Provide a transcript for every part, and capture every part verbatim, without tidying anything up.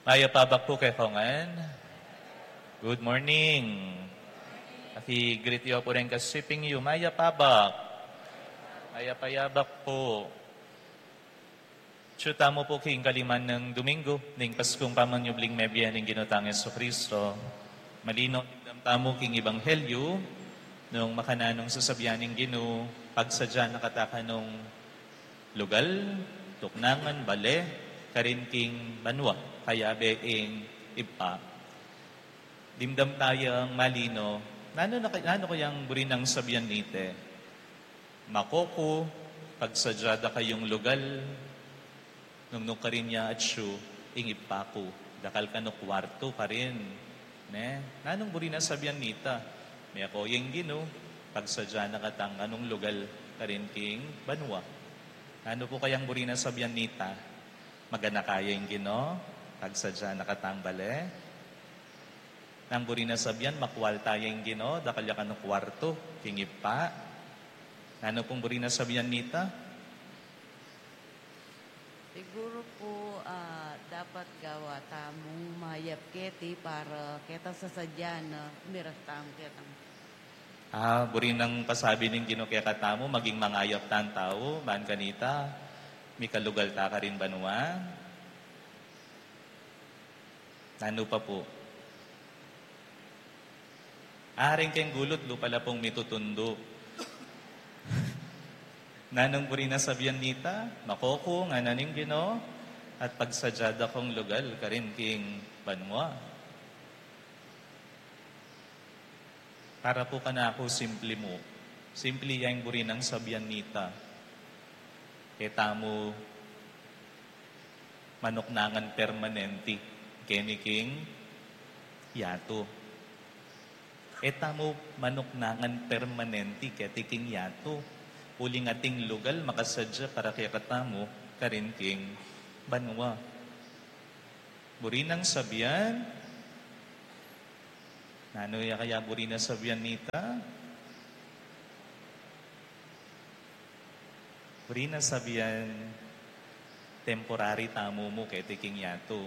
Mayap a abak pu kekongan. Good morning. Aki-greet yu pu ring kasiping yu. Mayap a abak. Mayap a abak pu. Atyu tamu pu king kaliman nang Domingo ning Paskung pamanyubling mebie ning Ginu tang Jesucristo. Malino dimdam tamu king Ebanghelyo nung makananu ing sasabian ning Ginu, pagsadya na kata kanung lugal, tuknangan, bale, karin king banua, kayabe ing Ibpa. Dimdam tayang malino, nanu na, nanu kayang buri nang sabian nita? Mako ku, pagsadya da kayung lugal, nung nukarin ya atyu ing Ibpa ku, dakal kanu kuartu karin. Ne? Nanung buri nang sabian nita? Mako ya ing Ginu, pagsadya na katang kanung lugal karin king banua. Nanu pu kayang buri nang sabian nita? Maganaka ya ing Ginu, pagsadya na katang bale. Nanu ing buri nang sabian? Makualta ya ing Ginu, dakal ya kanu kuartu king Ibpa. Nanu pung buri nang sabian nita? Siguru pu, ah, dapat gawa tamung mayap keti para ketang sasadyan na miras tamu ketang. Ah, buri nang pasabi ning Ginu kekatamu, maging mangayap tang tau, ban kanita, mikalugal ta karin banua. Nanu pa pu? Aring keng gulut, lupa la pung mitutundu. Nanung buri nang sabian nita? Mako ku, ngana ning Ginu, at pagsadya da kung lugal karin king banua. Para pu kanaku, simple mu. Simple ya ing buri nang sabian nita. E tamu manuknangan permanenti keni king yatu. E tamu manuknangan permanenti keti king yatu. Uling ating lugal makasadya para kekatamu karin king banua. Buri nang sabian, nanu ya kaya buri nang sabian nita? Buri nang sabian, temporary tamu mu keti king yatu.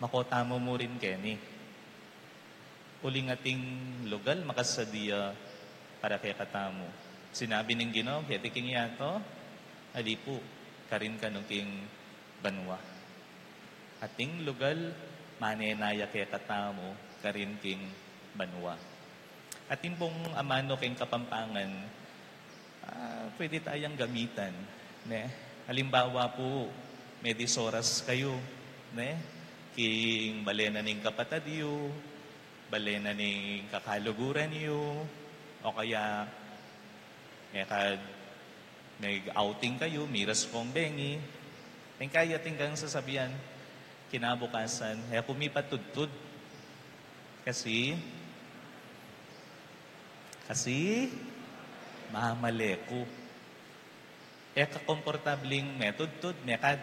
Mako tamu mu rin keni. Uling ating lugal makasadya para kekatamu. Sinabi ning Ginu keti king yatu, ali pu, karin kanu king banua. Ating lugal, manenaya kekatamu karin king banua. Atin pung amanu keng Kapampangan, ah, pwede tayang gamitan, ne? Halimbawa pu, medisoras kayu, ne? King bale na ning kapatad yu, bale na ning kakaluguran yu, o kaya, mekad, meg-outing kayu, miras kung bengi. Ning kaya atin kang sasabian, kinabukasan, e ku mipatudtud. Kasi, kasi, mamale ku. E ka komportabling metudtud, mekad.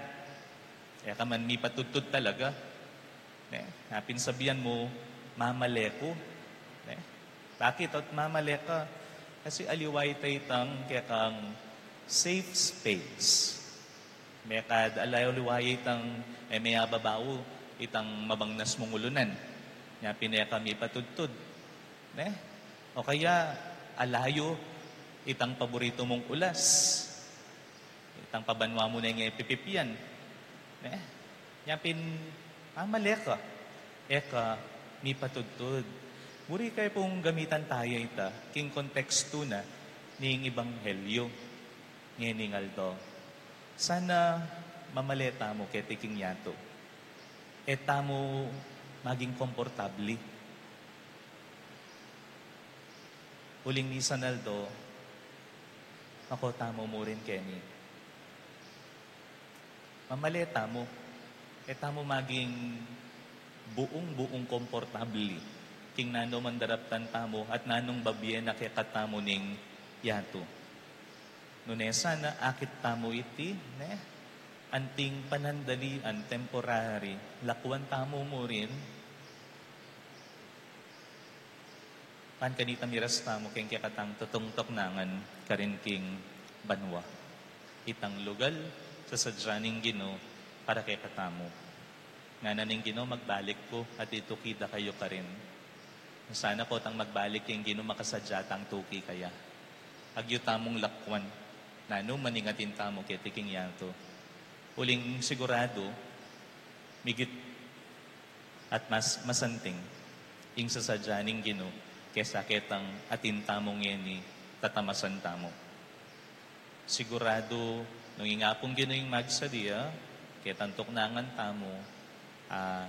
E ka man mipatudtud talaga. Ne? Napin sabian mu, mamale ku. Ne? Bakit ot mamale ka? Kasi aliwa ita itang kekang safe space. Mekad aliwa itang, e, meyababau itang mabangnas mung ulunan. Nya pin e ka mipatudtud. Ne? O kaya, alayu itang paboritu mung ulas. Itang pabanua mu neng e pipipian. Ne? Nya pin, mamale ka. E ka mipatudtud. Buri ke pung gamitan taya ita, king kontekstu na ning ebanghelyo ngening aldo. Sana mamale tamu keti king yatu. E tamu maging komportabli. Uling misan aldo, mako tamu mu rin keni. Mamale tamu. E tamu maging buung-buung komportabli king nanu man daraptan tamu at nanung babie na kekatamu ning yatu. Nune sana akit tamu iti, ne? Anting panandalian, temporary, lakuan tamu mu rin. Ban kanita miras tamu keng kekatang tutungtuk nangan karin king banua. Itang lugal, sasadya ning Ginu para kekatamu. Ngana ning Ginu, magbalik ku at ituki da kayu karin. Sana potang magbalik ing Ginu, makasadya tang tuki kaya. Agyu tamung lakwan, nanu man ing atin tamu keti king yatu. Uling siguradu, migit at mas masanting ing sasadya ning Ginu kesa ketang atin tamu ngeni tatamasan tamu. Siguradu, nung ing Apung Ginu ing magsadya ketang tuknangan tamu, a,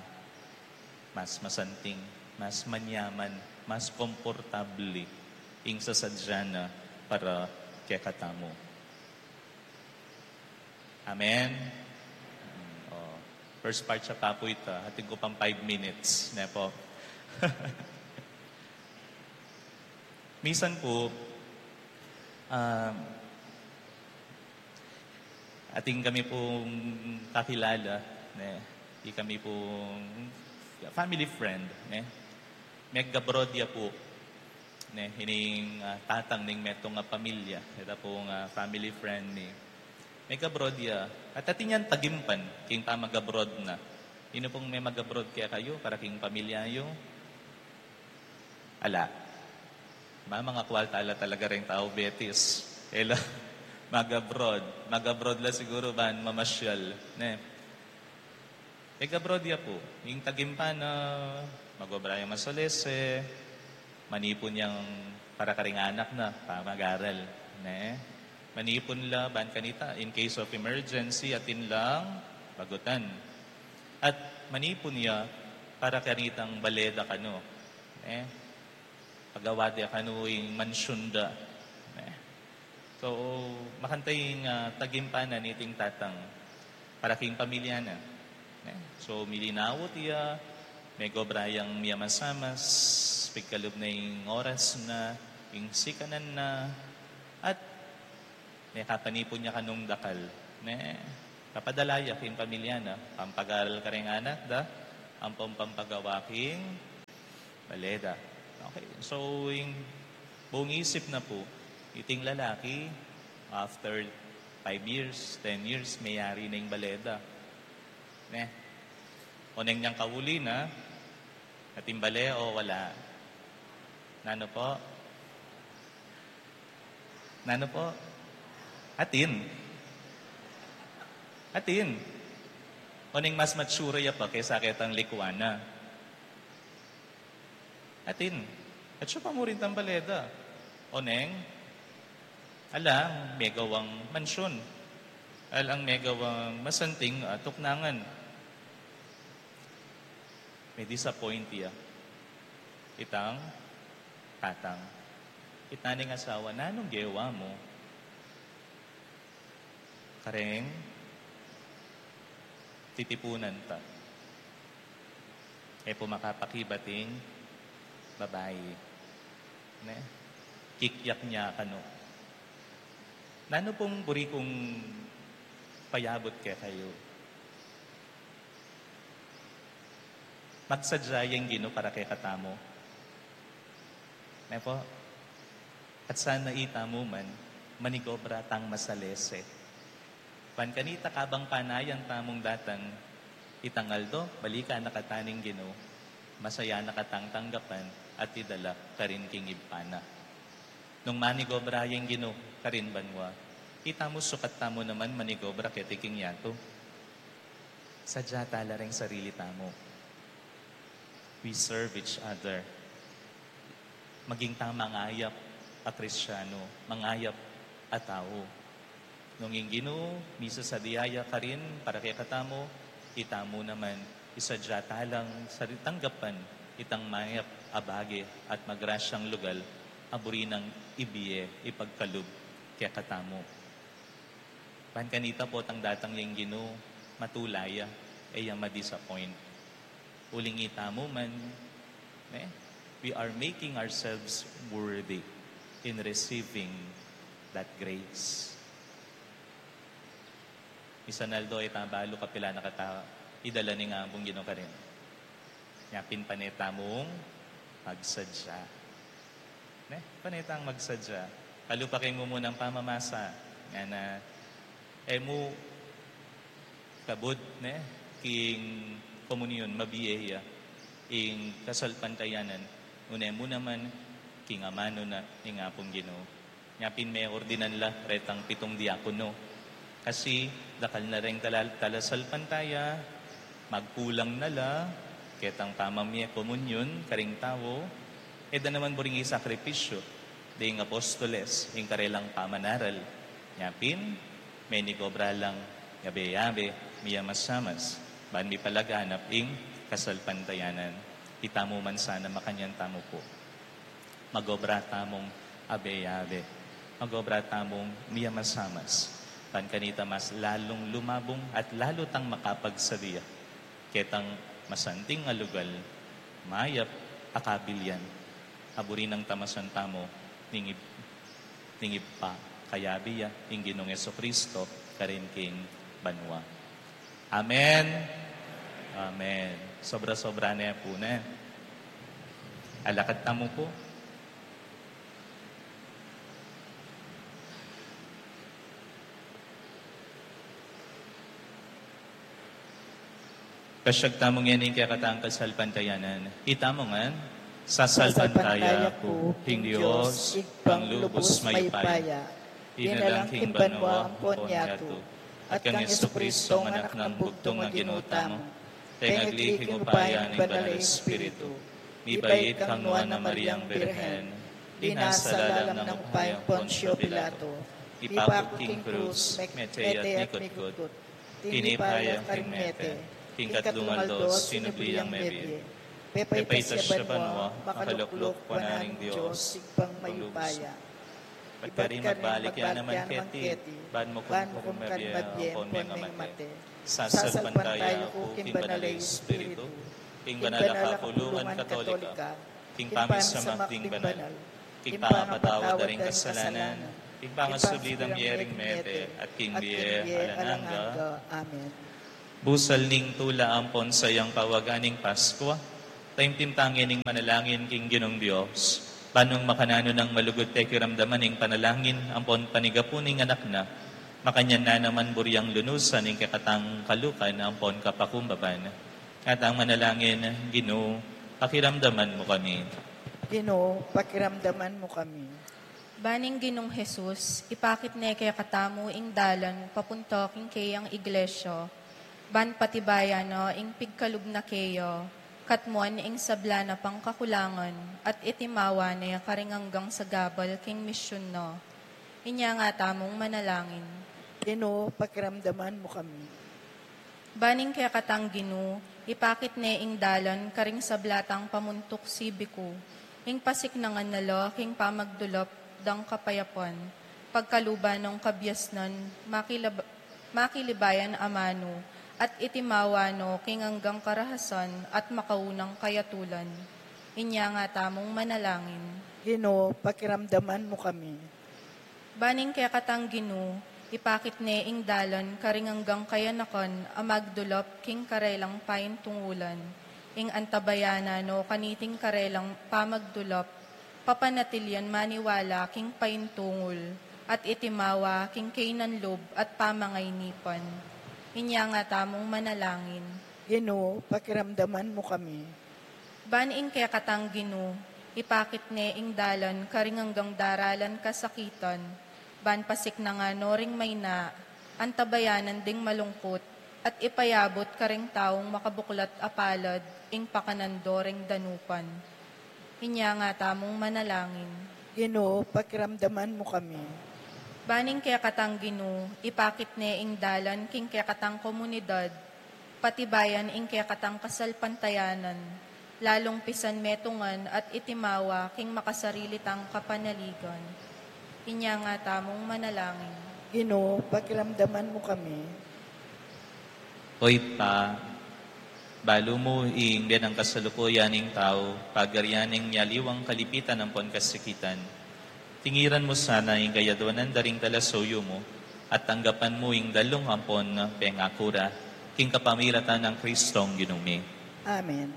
mas masanting, mas manyaman, mas komportable ing sasadya na para kekatamu. Amen? Mm, o. First part ya pa pu ita. Atin ku pang five minutes, ne pu? Misan pu, um, atin kami pung kakilala, ne? Ikami pung family friend, ne? Meg-abroad ya pu, ne? Ining, ah, tatang ning metung a pamilya. Ita pung, ah, family friend mi. Meg-abroad ya. At atin yang tagimpan king pamag-abroad na. Inu pung me mag-abroad kekayu para king pamilya yu? Ala. Mama, nga kwalta la talaga ring tau betis. E la mag-abroad. Mag-abroad la siguru ban mamasyal, ne? Meg-abroad ya pu. Ing tagimpan na mag-obra yang masalese, manipun yang para karing anak na pamag-aral, ne? Manipun la ban kanita in case of emergency, atin lang bagutan. At manipun ya para kanitang bale da kanu, ne? Pagawa da kanu ing mansyun da, ne? So, makanta ing, ah, tagimpanan niting tatang para king pamilya na, ne? So, milinawut ya, meg-obra yang miyamasamas, pigkalub na ing oras na, ing sikanan na, at mekapanipun ya kanung dakal, ne? Papadala ya king pamilya na, pampag-aral karing anak da, ampong pampagawa king bale da. Okay, so ing buung isip na pu, iting lalaki, after five years, ten years, meyari na ing bale da, ne? Oneng niyang kauli na, atin bale o wala? Nanu pu? Nanu pu? Atin. Atin. Oneng mas mature ya pa kesa ketang likwan na? Atin. At siya pa mu rin tang bale da. Oneng, alang megawang mansyun. Alang megawang masanting a tuknangan. Me-disappoint ya itang tatang. Kitnan ning asawa, nanung gewa mu kareng titipunan ta? E pu makapakibat ing babai, ne? Kikyak ne kanu. Nanu pung buri kung payabut kekayu? Magsadya yang Ginu para kekatamu. Ne pu? At sana itamu man, manigobra tang masalese. Ban kanita kabang panayan tamung datang itang aldo, balikan na kata ning Ginu, masaya na katang tanggapan at idala karin king Ibpa na. Nung manigobra yang Ginu karin banua, itamu sukat tamu naman manigobra keti king yatu. Sadya tala ring sarili tamu. We serve each other. Maging tang mangayap a Kristiyanu, mangayap a tau. Nung ing Ginu misasadya ya karin para kekatamu, itamu naman, isadya talang sari-, tanggapan itang mayap a bage at magrasyang lugal a buri nang ibie ipagkalub kekatamu. Ban kanita potang datang yang Ginu, matula ya, e ya ma-disappoint. Uling itamu man, ne? We are making ourselves worthy in receiving that grace. Misan aldo e ta balu kapilan a kata idala ning Apung Ginu karin. Nya pin pane tamung magsadya. Ne? Pane tang magsadya. Kalupa keng mumunang pamamasa. Ngana, e mu Kabud, ne, king komunyon, mabie ya ing kasalpantayanan, une mu naman king amanu na ing Apung Ginu. Nya pin meordinan la retang pitung diakono. Kasi dakal na reng tala-, talasalpantaya, magkulang na la ketang pamamie komunyon karing tau, e da naman buring isakripisyu ding apostoles ing karelang pamanaral. Nya pin, menigobra lang yabe-yabe, miyamasamas, ban mipalaganap ing kasalpantayanan. Itamu man sana makanyan tamu pu. Magobra tamung abe-abe. Magobra tamung miyamasamas. Ban kanita mas lalung lumabung at lalu tang makapagsadia ketang masanting a lugal, mayap a kabilian, a buri nang tamasan tamu ning Ib-, ning Ibpa, kayabe ya ing Ginung Jesucristo, karin king banua. Amen. Amen. Sobra-sobra ne pu, ne. Alakad tamu pu. Pasyag tamu ngening kekatang kasalpantayanan. Itamu ngan, sasalpantaya ku king Dios, Ibpang lubus mayupaya, dinalang king banua ampon yatu, at kang Jesucristo, anak nang bugtung a Ginu tamu, pengagli king upaya ning Banal a Espiritu, mibait kang Nuan a Mariang Birhen, dinasal alang nang upayang Poncio Pilato, ipakut king krus, mete at mikutkut, tinipa ya king mete, king katlung aldo sinubli yang mebie, pepaitas ya banua, makalukluk wanan ning Dios, Ibpang mayupaya. Ibat karin magbalik ya naman keti, ban mukum karing mabie ampon mengamate. Sasalpantaya ku king Banal a Espiritu, king Banal a Kapulungan Katolika, king pamisamak ding banal, king pangapatawad da ring kasalanan, king pangasubli da mie ring mete, at king bie alang angga. Amen. Busal ning tula ampon sayang pawagan ning Paskua, taimtim ta ngening manalangin king Ginung Dios, ban nung makananu nang malugud pakiramdaman ing panalangin ampon panigapu ning Anak na, makanyan na naman buri yang lunusan ing kekatang kalukan ampon kapakumbaban. At ang manalangin, Ginu, pakiramdaman mu kami. Ginu, pakiramdaman mu kami. Ban ing Ginung Jesus, ipakit ne kekatamu ing dalan papunta king keyang iglesia, ban patibayan na ing pigkalub na keya, katmuan ing sabla na pang kakulangan, at itimawa ne karing anggang sagabal king misyun na. Inya nga tamung manalangin. Ginu, pakiramdaman mu kami. Ban ing kekatang Ginu, ipakit ne ing dalan karing sabla tang pamuntuk sibiku, ing pasiknangan na la king pamagdulap dang kapayapan, pagkaluban nang kabiasnan, makilab-, makilibayan amanu, at itimawa no king anggang karahasan at makaunang kayatulan. Inya nga tamung manalangin. Ginu, pakiramdaman mu kami. Ban ing kekatang Ginu, ipakit ne ing dalan karing anggang kayanakan a magdulap king karelang paintungulan, ing antabayanan no kaniting karelang pamagdulap, papanatilian maniwala king paintungul, at itimawa king kaynan lub at pamangaynipan. Inya nga tamung manalangin. Ginu, pakiramdaman mu kami. Ban ing kekatang Ginu, ipakit ne ing dalan karing anggang daralan kasakitan, ban pasiknangan no ring mayna, antabayanan ding malungkut, at ipayabut karing taung makabuklat a palad ing pakanan do ring danupan. Inya nga tamung manalangin. Ginu, pakiramdaman mu kami. Ban ing kekatang Ginu, ipakit ne ing dalan king kekatang komunidad, patibayan ing kekatang kasalpantayanan, lalung pisan metungan at itimawa king makasarili tang kapanaligan. Inya nga tamung manalangin. Ginu, pakiramdaman mu kami. O Ibpa, balu mu ing biye nang kasalukuyan ning tau, pagarian ning mialiwang kalipitan ampon kasakitan. Tingiran mu sana ing kayadwanan da ring talasuyu mu, at tanggapan mu ing dalung ampon pengaku ra, king kapamilatan nang Kristong Ginu mi. Amen.